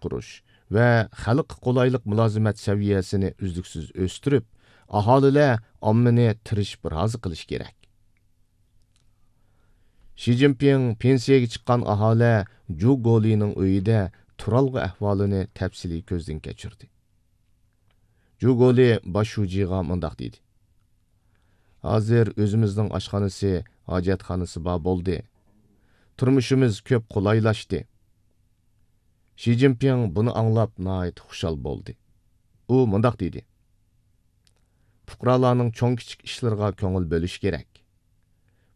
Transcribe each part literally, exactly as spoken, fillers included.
باشقۇرۇش ۋە خەلققە قولايلىق مۇلازىمەت سەۋىيەسىنى ئۈزلۈكسىز ئۆستۈرۈپ، ئاھالىلەر ئاممىنى تىرىشىپ رازى قىلىش كېرەك. شى جىنپىڭ پېنسىيەگە چىققان ئاھالە جۇ گولىنىڭ ئۆيىدە تۇرالغۇ ئەھۋالىنى تەپسىلىي كۆزدىن كەچۈردى. جۇ گولى باش شۇجىغا مۇنداق دېدى: «ھازىر ئۆزىمىزنىڭ ئاشخانىسى، ھاجەتخانىسى بار بولدى. تۇرمۇشىمىز كۆپ قولايلاشتى.» شى جىنپىڭ بۇنى ئاڭلاپ ناھايىتى خۇشال بولدى. ئۇ مۇنداق دېدى: «پۇقرالارنىڭ چوڭ-كىچىك ئىشلىرىغا كۆڭۈل بۆلۈش كېرەك.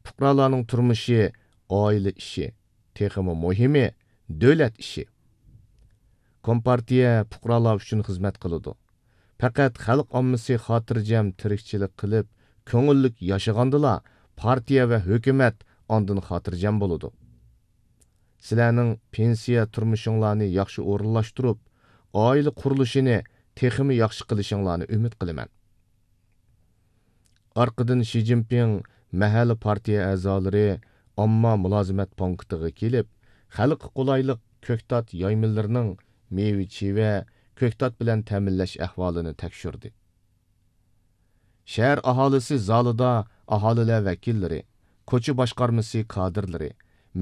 پۇقرالارنىڭ تۇرمۇشى ئائىلە ئىشى، تېخىمۇ مۇھىمى، دۆلەت ئىشى. كومپارتىيە پۇقرالار ئۈچۈن خىزمەت قىلىدۇ. پەقەت خەلق ئاممىسى خاتىرجەم تىرىكچىلىك قىلىپ، كۆڭۈللۈك ياشىغاندىلا، پارتىيە ۋە ھۆكۈمەت ئاندىن خاتىرجەم بولىدۇ. سىلەرنىڭ پېنسىيە تۇرمۇشۇڭلارنى ياخشى ئورۇنلاشتۇرۇپ، ئائىلە قۇرۇلۇشىنى تېخىمۇ ياخشى قىلىشىڭلارنى ئۈمىد قىلىمەن.» ئارقىدىن شى جىنپىڭ مەھەللە پارتىيە ئەزالىرى، ئامما مۇلازىمەت پونكىتىغا كېلىپ، خەلققە قولايلىق كۆكتات يايمىلىرىنىڭ مېۋە-چىۋە، كۆكتات بىلەن تەمىنلەش ئەھۋالىنى تەكشۈردى. شەھەر ئاھالىسى زالىدا ئاھالىلەر ۋەكىللىرى، كوچا باشقارمىسى كادىرلىرى،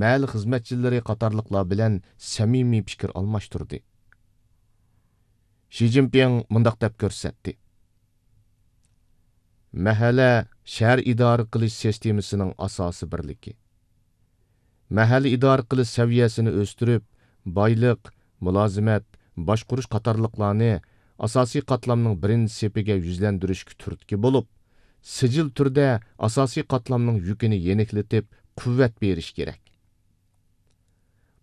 مەھەللە خىزمەتچىلىرى قاتارلىقلار بىلەن سەمىمىي پىكىر ئالماشتۇردى. شى جىنپىڭ مۇنداق دەپ كۆرسەتتى: «مەھەللە شەھەر ئىدارە قىلىش سىستېمىسىنىڭ ئاساسىي بىرلىكى. مەھەللە ئىدارە قىلىش سەۋىيەسىنى ئۆستۈرۈپ، بايلىق، مۇلازىمەت، باشقۇرۇش قاتارلىقلارنى ئاساسىي قاتلامنىڭ بىرىنچى سېپىگە يۈزلەندۈرۈشكە تۈرتكە بولۇپ، سىجىل تۈردە ئاساسىي قاتلامنىڭ يۈكىنى يېنىكلىتىپ، قۇۋۋەت بېرىش كېرەك.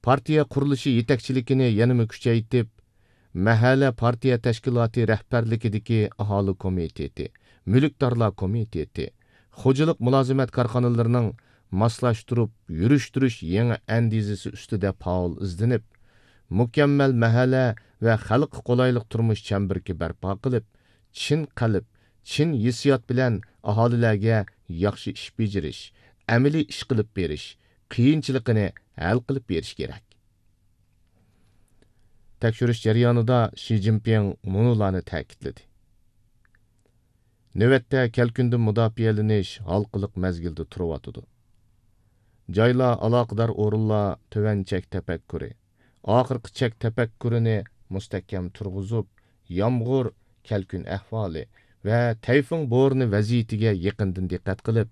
پارتىيە قۇرۇلۇشى يېتەكچىلىكىنى يەنىمۇ كۈچەيتىپ، مەھەللە پارتىيە تەشكىلاتى رەھبەرلىكىدىكى ئاھالە كومىتېتى، مۈلۈكدارلار كومىتېتى، خوجىلىق مۇلازىمەت كارخانىلىرىنىڭ ماسلاشتۇرۇپ يۈرۈشتۈرۈش يېڭى ئەندىزىسى ئۈستىدە پائال ئىزدىنىپ، مۇكەممەل مەھەللە ۋە خەلققە قولايلىق تۇرمۇش چەمبىرىكى بەرپا قىلىپ، چىن قەلب، چىن ھېسسىيات بىلەن ئاھالىلەرگە ياخشى ئىش بېجىرىش، ئەمەلىي ئىش قىلىپ بېرىش، قىيىنچىلىقىنى ھەل قىلىپ بېرىش كېرەك.» تەكشۈرۈش جەريانىدا شى جىنپىڭ مۇنۇلارنى تەكىتلىدى: «نۆۋەتتە كەلكۈندىن مۇداپىئەلىنىش ھالقىلىق مەزگىلدە تۇرۇۋاتىدۇ. جايلار، ئالاقىدار ئورۇنلار تۆۋەن چەك تەپەككۇرى، ئاخىرقى چەك تەپەككۇرىنى مۇستەھكەم تۇرغۇزۇپ، يامغۇر، كەلكۈن ئەھۋالى ۋە تەيفۇڭ بورىنى ۋەزىيىتىگە يېقىندىن دىققەت قىلىپ،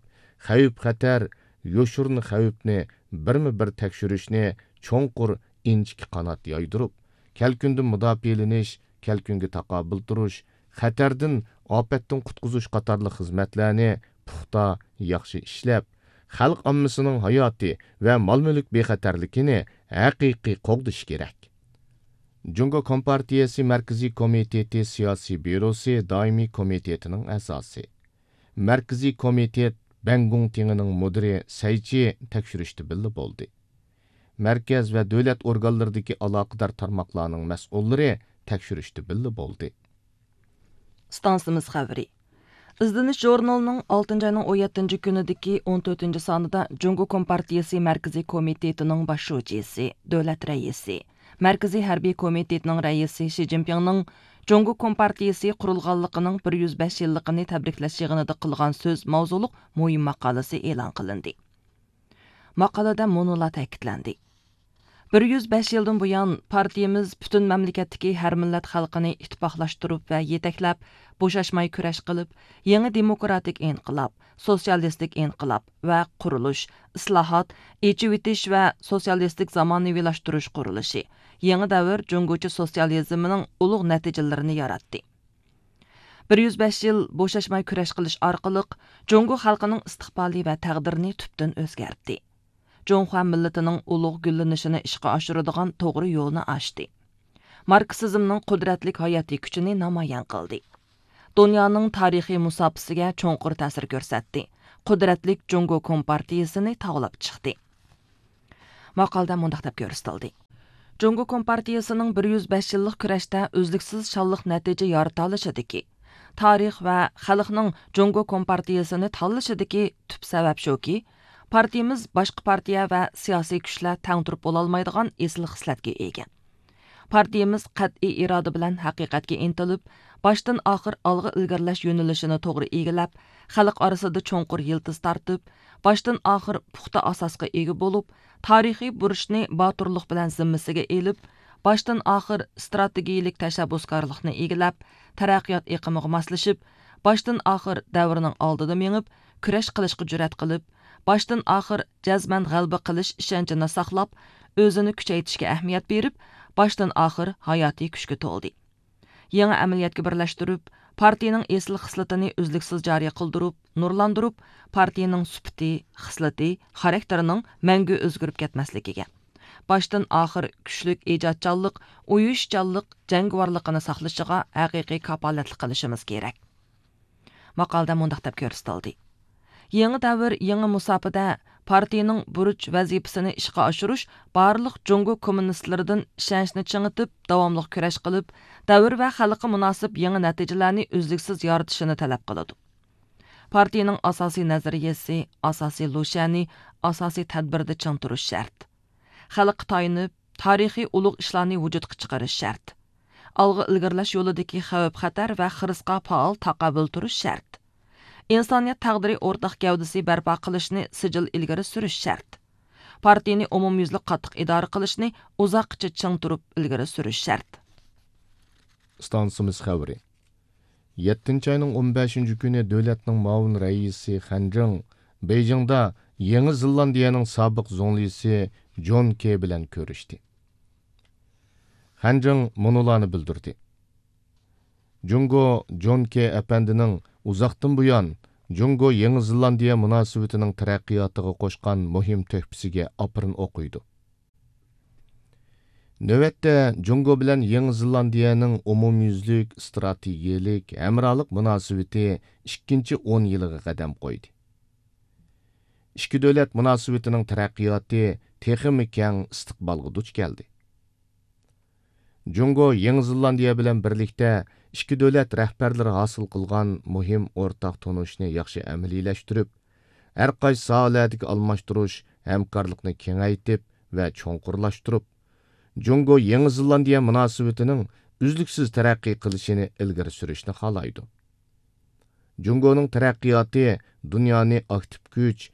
خەۋپ-خەتەر، يوشۇرۇن خەۋپنى بىرمۇ بىر تەكشۈرۈشنى چوڭقۇر ئىنچىكە قانات يايدۇرۇپ، كەلكۈندىن مۇداپىئەلىنىش، كەلكۈنگە تاقابىل تۇرۇش، خەتەردىن، ئاپەتتىن قۇتقۇزۇش قاتارلىق خىزمەتلەرنى پۇختا، ياخشى ئىشلەپ، خەلق ئاممىسىنىڭ ھاياتى ۋە مال-مۈلۈك بىخەتەرلىكىنى ھەقىقىي قوغدىشى كېرەك.» جۇڭگو كومپارتىيىسى مەركىزىي كومىتېتى سىياسىي بيۇروسى دائىمىي كومىتېتىنىڭ ئەزاسى، مەركىزىي كومىتېت بەنگۇڭ تېڭىنىڭ مۇدىرى سەيچى تەكشۈرۈشتە بىللە بولدى. مەركەز ۋە دۆلەت ئورگانلىرىدىكى ئالاقىدار تارماقلارنىڭ مەسئۇللىرى تەكشۈرۈشتە بىللە بولدى. ئىستانسىمىز خەۋىرى. ئىزدىنىش ژۇرنىلىنىڭ ئالتىنچى ئاينىڭ ئون يەتتىنچى كۈنىدىكى ئون تۆتىنچى سانىدا جۇڭگو كومپارتىيىسى مەركىزىي كومىتېتىنىڭ باش شۇجىسى، دۆلەت رەئىسى، مەركىزىي ھەربىي كومىتېتنىڭ رەئىسى شى جىنپىڭنىڭ جۇڭگو كومپارتىيىسى قۇرۇلغانلىقىنىڭ بىر يۈز بەش يىللىقىنى تەبرىكلەش يىغىنىدا قىلغان سۆز ماۋزۇلۇق مۇھىم ماقالىسى ئېلان قىلىندى. ماقالىدە مۇنۇلار تەكىتلەندى: بىر يۈز بەش يىلدىن بۇيان، پارتىيىمىز پۈتۈن مەملىكەتتىكى ھەر مىللەت خەلقىنى ئىتتىپاقلاشتۇرۇپ ۋە يېتەكلەپ، بوشاشماي كۈرەش قىلىپ، يېڭى دېموكراتىك ئىنقىلاب، سوتسىيالىستىك ئىنقىلاب ۋە قۇرۇلۇش، ئىسلاھات، ئېچىۋېتىش ۋە سوتسىيالىستىك زامانىۋىلاشتۇرۇش قۇرۇلۇشى، يېڭى دەۋر جۇڭگوچە سوتسىيالىزمىنىڭ ئۇلۇغ نەتىجىلىرىنى ياراتتى. بىر يۈز بەش يىل بوشاشماي كۈرەش قىلىش ئارقىلىق، جۇڭگو خەلقىنىڭ ئىستىقبالى ۋە تەقدىرىنى تۈپتىن ئۆزگەرتتى. جۇڭخۇا مىللىتىنىڭ ئۇلۇغ گۈللىنىشىنى ئىشقا ئاشۇرىدىغان توغرا يولنى ئاچتى. ماركسىزمنىڭ قۇدرەتلىك ھاياتىي كۈچىنى نامايان قىلدى. دۇنيانىڭ تارىخىي مۇساپىسىگە چوڭقۇر تەسىر كۆرسەتتى. قۇدرەتلىك جۇڭگو كومپارتىيىسىنى تاۋلاپ چىقتى. ماقالىدە مۇنداق دەپ كۆرسىتىلدى: جۇڭگو كومپارتىيىسىنىڭ بىر يۈز بەش يىللىق كۈرەشتە ئۈزلۈكسىز شانلىق نەتىجە يارىتالىشىدىكى، تارىخ ۋە خەلقنىڭ جۇڭگو كومپارتىيىسىنى تاللىشىدىكى تۈپ سەۋەب شۇكى، پارتىيىمىز باشقا پارتىيە ۋە سىياسىي كۈچلەر تەڭ تۇرۇپ بولالمايدىغان ئېسىل خىسلەتكە ئىگە. پارتىيىمىز قەتئىي ئىرادە بىلەن ھەقىقەتكە ئىنتىلىپ، باشتىن ئاخىر ئالغا ئىلگىرىلەش يۆنىلىشىنى توغرا ئىگىلەپ، خەلق ئارىسىدا چوڭقۇر يىلتىز تارتىپ، باشتىن ئاخىر پۇختا ئاساسقا ئىگە بولۇپ، تارىخىي بۇرچنى باتۇرلۇق بىلەن زىممىسىگە ئېلىپ، باشتىن ئاخىر ئىستراتېگىيىلىك تەشەببۇسكارلىقنى ئىگىلەپ، تەرەققىيات ئېقىمىغا ماسلىشىپ، باشتىن ئاخىر دەۋرنىڭ ئالدىدا مېڭىپ، كۈرەش قىلىشقا جۈرئەت قىلىپ، باشتىن ئاخىر جەزمەن غەلىبە قىلىش ئىشەنچىنى ساقلاپ، ئۆزىنى كۈچەيتىشكە ئەھمىيەت بېرىپ، باشتىن ئاخىر ھاياتىي كۈچكە تولدى. يېڭى ئەمەلىيەتكە بىرلەشتۈرۈپ، پارتىيىنىڭ ئېسىل خىسلىتىنى ئۈزلۈكسىز جارى قىلدۇرۇپ، نۇرلاندۇرۇپ، پارتىيىنىڭ سۈپىتى، خىسلىتى، خاراكتېرىنىڭ مەڭگۈ ئۆزگىرىپ كەتمەسلىكىگە، باشتىن ئاخىر كۈچلۈك ئىجادچانلىق، ئۇيۇشچانلىق، جەڭگىۋارلىقىنى ساقلىشىغا ھەقىقىي كاپالەتلىك قىلىشىمىز كېرەك. ماقالىدە مۇنداق دەپ كۆرسىتىلدى: يېڭى دەۋر، يېڭى مۇساپىدە پارتىيىنىڭ بۇرچ ۋەزىپىسىنى ئىشقا ئاشۇرۇش بارلىق جۇڭگو كوممۇنىستلىرىدىن ئىشەنچنى چىڭىتىپ، داۋاملىق كۈرەش قىلىپ، دەۋر ۋە خەلققە مۇناسىپ يېڭى نەتىجىلەرنى ئۈزلۈكسىز يارىتىشىنى تەلەپ قىلىدۇ. پارتىيىنىڭ ئاساسىي نەزەرىيەسى، ئاساسىي لۇشيەنى، ئاساسىي تەدبىردە چىڭ تۇرۇش شەرت. خەلققە تايىنىپ، تارىخىي ئۇلۇغ ئىشلارنى ۋۇجۇدقا چىقىرىش شەرت. ئالغا ئىلگىرىلەش يولىدىكى خەۋپ-خەتەر ۋە خىرىسقا پائال تاقابىل تۇرۇش شەرت. ئىنسانىيەت تەقدىرى ئورتاق گەۋدىسى بەرپا قىلىشنى سىجىل ئىلگىرى سۈرۈش شەرت. پارتىيىنى ئومۇميۈزلۈك قاتتىق ئىدارە قىلىشنى ئۇزاققىچە چىڭ تۇرۇپ ئىلگىرى سۈرۈش شەرت. ئىستانسىمىز خەۋىرى. يەتتىنچى ئاينىڭ ئون بەشىنچى كۈنى دۆلەتنىڭ مۇئاۋىن رەئىسى خەن جىڭ بېيجىڭدا يېڭى زېلاندىيەنىڭ سابىق زۇڭلىسى جون كې بىلەن كۆرۈشتى. خەن جىڭ مۇنۇلارنى بىلدۈردى: جۇڭگو جون كې ئەپەندىنىڭ ئۇزاقتىن بۇيان جۇڭگو يېڭى زېلاندىيە مۇناسىۋىتىنىڭ تەرەققىياتىغا قوشقان مۇھىم تۆھپىسىگە ئاپىرىن ئوقۇيدۇ. نۆۋەتتە، جۇڭگو بىلەن يېڭى زېلاندىيەنىڭ ئومۇميۈزلۈك ئىستراتېگىيەلىك ھەمراھلىق مۇناسىۋىتى ئىككىنچى ئون يىلىغا قەدەم قويدى. ئىككى دۆلەت مۇناسىۋىتىنىڭ تەرەققىياتى تېخىمۇ كەڭ ئىستىقبالغا دۇچ كەلدى. جۇڭگو يېڭى زېلاندىيە بىلەن بىرلىكتە ئىككى دۆلەت رەھبەرلىرى ھاسىل قىلغان مۇھىم ئورتاق تونۇشنى ياخشى ئەمەلىيلەشتۈرۈپ، ھەر قايسى ساھەلەردىكى ئالماشتۇرۇش ھەمكارلىقنى كېڭەيتىپ ۋە چوڭقۇرلاشتۇرۇپ، جۇڭگو يېڭى زېلاندىيە مۇناسىۋىتىنىڭ ئۈزلۈكسىز تەرەققىي قىلىشىنى ئىلگىرى سۈرۈشنى خالايدۇ. جۇڭگونىڭ تەرەققىياتى دۇنيانى ئاكتىپ كۈچ،